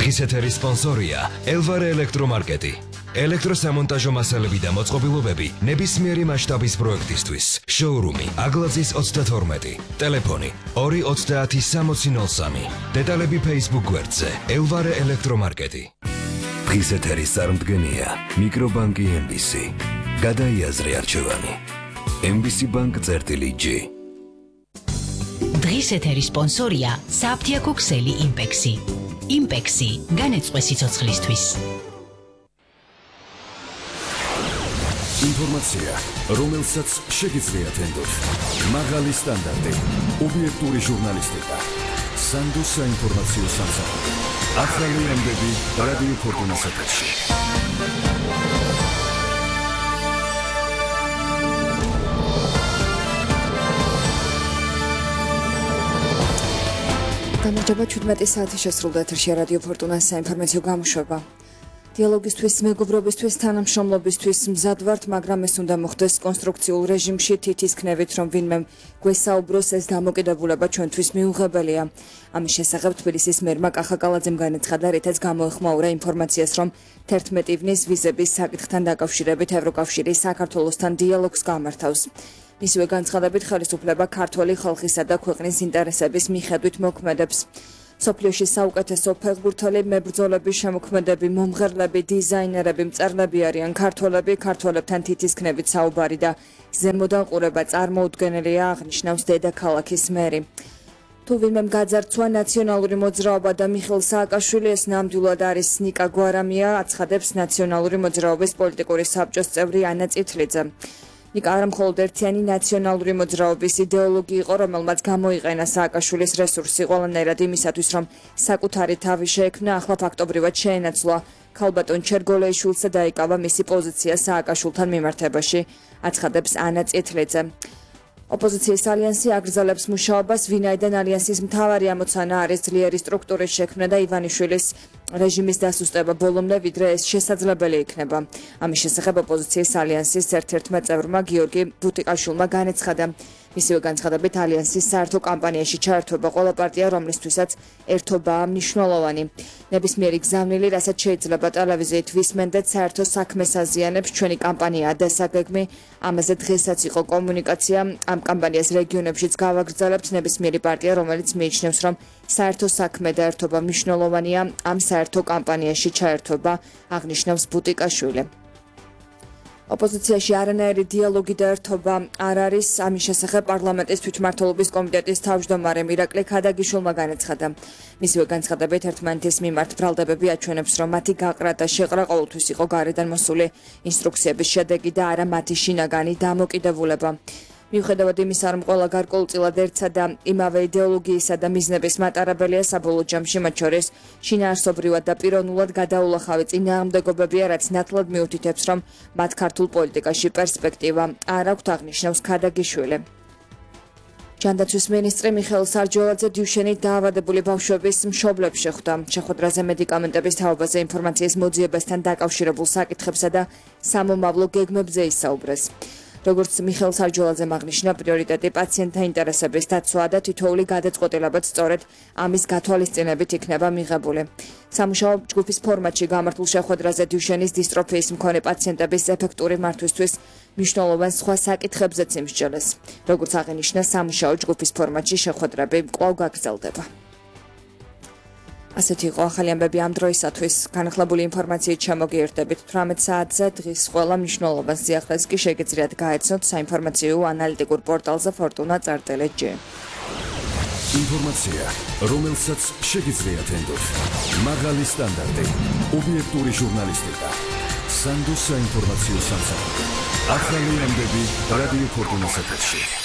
დღის ეთერის სპონსორია ელვარე ელექტრომარკეტი. ელექტროსამონტაჟო მასალები და მოწყობილობები ნებისმიერი მასშტაბის პროექტისთვის. შოურუმი აგლაძის 32. ტელეფონი 2306003. დეტალები Facebook გვერდზე ელვარე ელექტრომარკეტი. დღის ეთერის წარმდგენია მიკრობანკი MBC. გადაიაზრე არჩევანი. MBC Bank წერტილი-G. დღის ეთერის სპონსორია საფთიაქო ქსელი იმპექსი. იმპექსი განეწყვე სიცოცხლისთვის. ინფორმაცია, რომელსაც შეგიძლიათ ენდოთ. მაღალი სტანდარტი, ობიექტური ჟურნალისტიკა. სანდოს საინფორმაციო სამსახური. ახალი ამბები რადიო ფორტუნას ეთერში. გამარჯობა 17 საათი შესრულდა ეთერში რადიო ფორტუნას საინფორმაციო გამოშვება. დიალოგისთვის, მეგობრობისთვის, თანამშრომლობისთვის მზად ვართ, მაგრამ ეს უნდა მოხდეს კონსტრუქციულ რეჟიმში, თითის ქნევით, რომ ვინმე გვესაუბროს, ეს დამოკიდებულება ჩვენთვის მიუღებელია. ამის შესახებ თბილისის მერმა კახაკალაძემ განაცხადა, რითაც გამოეხმაურა ინფორმაციას, რომ 11 ივნის ვიზების საკითხთან დაკავშირებით ევროკავშირი საქართველოსთან დიალოგს გამართავს. მისივე განცხადებით ხელისუფლება ქართველი ხალხისა და ქვეყნის ინტერესების მიხედვით მოქმედებს. სოფლიოში საუკეთესო ფეხბურთელი, მებრძოლები, შემოქმედები, მომღერლები, დიზაინერები, მწერლები არიან ქართველები, ქართველებთან თითის ქნევით საუბარი და ზემოდან ყურება წარმოუდგენელია, აღნიშნავს დედაქალაქის მერი. თუ ვინმემ გაძარცვა ნაციონალური მოძრაობა და მიხეილ სააკაშვილი, ეს ნამდვილად არის ნიკა გვარამია, აცხადებს ნაციონალური მოძრაობის პოლიტიკური საბჭოს წევრი ანა წითლიძე. ნიკა არა მხოლოდ ერთიანი ნაციონალური მოძრაობის იდეოლოგი იყო, რომელმაც გამოიყენა სააკაშვილის რესურსი ყველანაირად იმისათვის, რომ საკუთარი თავი შეექმნა, ახლა ფაქტობრივად შეენაცვლა ქალბატონ ჩერგოლეიშვილს და დაიკავა მისი პოზიცია სააკაშვილთან მიმართებაში, აცხადებს ანა წითლიძე. ოპოზიციის ალიანსი აგრძელებს მუშაობას, ვინაიდან ალიანსის მთავარი ამოცანა არის ძლიერი სტრუქტურის შექმნა და ივანიშვილის რეჟიმის დასუსტება ბოლომდე, ვიდრე ეს შესაძლებელი იქნება. ამის შესახებ ოპოზიციის ალიანსის ერთ-ერთმა წევრმა გიორგი ბუტიკაშვილმა განაცხადა. მისივე განცხადებით ალიანსის საერთო კამპანიაში ჩაერთვება ყველა პარტია, რომლისთვისაც ერთობაა მნიშვნელოვანი. ნებისმიერი გზავნილი, რასაც შეიძლება ტელევიზიით ვისმენდეთ, საერთო საქმეს აზიანებს, ჩვენი კამპანიაა დასაგეგმი, ამაზე დღესაც იყო კომუნიკაცია, ამ კამპანიას რეგიონებშიც გავაგრძელებთ, ნებისმიერი პარტია, რომელიც მიიჩნევს, რომ საერთო საქმე და ერთობა მნიშვნელოვანია, ამ საერთო კამპანიაში ჩაერთვება, აღნიშნავს ბუტიკაშვილი. ოპოზიციაში არანაირი დიალოგი და ერთობა არ არის, ამის შესახებ პარლამენტის თვითმმართველობის კომიტეტის თავმჯდომარე მირაკლი ქადაგიშვილმა განაცხადა. მისივე განცხადებით ერთმანეთის მიმართ ბრალდებები აჩვენებს, რომ მათი გაყრა და შეყრა ყოველთვის იყო გარედან მოსული ინსტრუქციების შედეგი და არა მათი შინაგანი დამოკიდებულება. მიუხედავად იმისა, რომ ყველა გარკვეულწილად ერთსა და იმავე იდეოლოგიისა და მიზნების მატარებელია, საბოლოო ჯამში მათ შორის შინაარსობრივად და პიროვნულად გადაულახავი წინააღმდეგობებია, რაც ნათლად მიუთითებს, რომ მათ ქართულ პოლიტიკაში პერსპექტივა არ აქვთ, აღნიშნავს ქადაგიშვილი. ჯანდაცვის მინისტრი მიხეილ სარჯოლაძე დიუშენით დაავადებული ბავშვების მშობლებს შეხვდა. შეხვედრაზე მედიკამენტების თაობაზე ინფორმაციის მოძიებასთან დაკავშირებულ საკითხებსა და სამომავლო გეგმებზე ისაუბრეს. როგორც მიხეილ სარჯოლაძემ აღნიშნა, პრიორიტეტი პაციენტთა ინტერესების დაცვაა და თითოეული გადაწყვეტილებაც სწორედ ამის გათვალისწინებით იქნება მიღებული. სამუშაო ჯგუფის ფორმატში გამართულ შეხვედრაზე დიუშენის დისტროფიის მქონე პაციენტების ეფექტური მართვისთვის მნიშვნელოვან სხვა საკითხებზეც იმსჯელეს. როგორც აღინიშნა, სამუშაო ჯგუფის ფორმატში შეხვედრები კვლავ გაგრძელდება. ასეთი იყო ახალი ამბები ამ დროისათვის. განახლებული ინფორმაციით შემოგიერთდებით 18 საათზე. დღის ყველა მნიშვნელოვან სიახლეს კი შეგიძლიათ გაეცნოთ საინფორმაციო ანალიტიკურ პორტალზე fortuna.gt. ინფორმაცია, რომელსაც შეგიძლიათ ენდოთ. მაღალი სტანდარტი, ობიექტური ჟურნალისტიკა. სანდოს საინფორმაციო სამსახური. ახალი ამბები რადიო ფორტუნას ეთერში.